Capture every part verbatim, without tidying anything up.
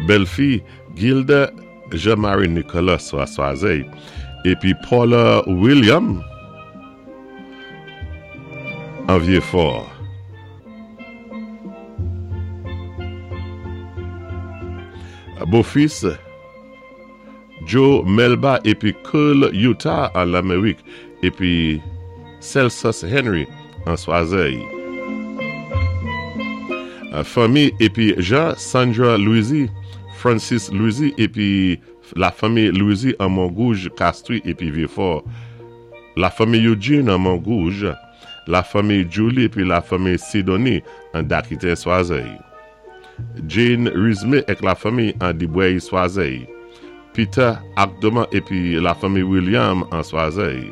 Bèlfi Gilda Jean-Marie Nicolas a Swazey épi Paula William an Vieux-Fort. Bofis Joe Melba épi Curl Utah an Lamérik épi Celsus Henry an Swazey. Fanmi épi Jean Sandra Louisy, Francis Louisy épi la fanmi Louisy an Mongouge, Castries épi Vieux-Fort. La fanmi Eugene an Mongouge, la fanmi Julie épi la fanmi Sidonie an Dakite Swazey. Jane Rizme ak la fanmi an Dibwey Swazey. Peter Akdoma épi la fanmi William an Swazey.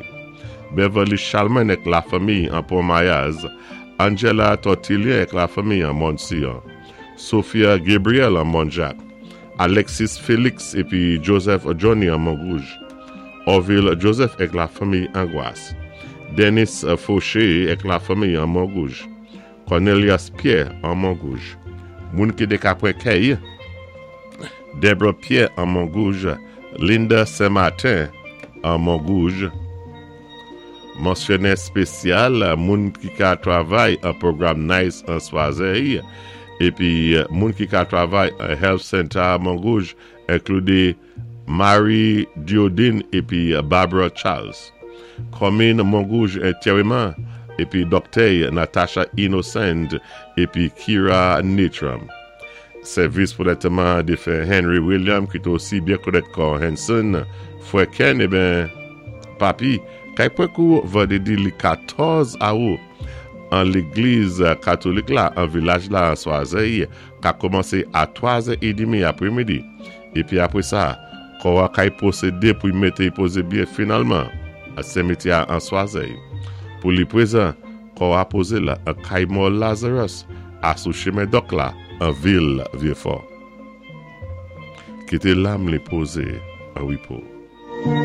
Beverly Chalman ak la fanmi an Pont-Mayaz. Angela Tortillier ak la fanmi an Montsion. Sophia Gabriel an Montjacques. Alexis Félix épi Joseph Johnny an Montrouge. Orville Joseph ak la fanmi Angoisse. Dennis Fauché ak la fanmi an Montrouge. Cornelius Pierre an Montrouge. Moun ki té ka pwan kèy, Deborah Pierre an Montrouge, Linda Saint-Martin an Montrouge. Mansyonné spésyal, moun ki ka travay an pwogram NICE an Swazey, épi moun ki ka travay an Health Center a Montrouge, enklidé Marie Diodine épi Barbara Charles. Komin Montrouge entèwman épi Doktè Natasha Innocent épi Kira Nitram. Sèvis pou lantèman défen Henry William ki té osi byen konnèt kon Henson, Fwè Ken, eben, papi, kay pwan kou vandédi li katòz awou an légliz katolik la, an vilaj la, an Swazey, ka kòmansé a twa zè édmi apwémidi. Épi apwé sa, kò a kay pwosédé pou y mété y pozé byen finalman a simityè an Swazey. Pou li pwézan, kò a pozé la an kay mò Lazarus, a sou chimen Dòk la, an vil Vieux-Fort. Kité lam li pozé an wépo.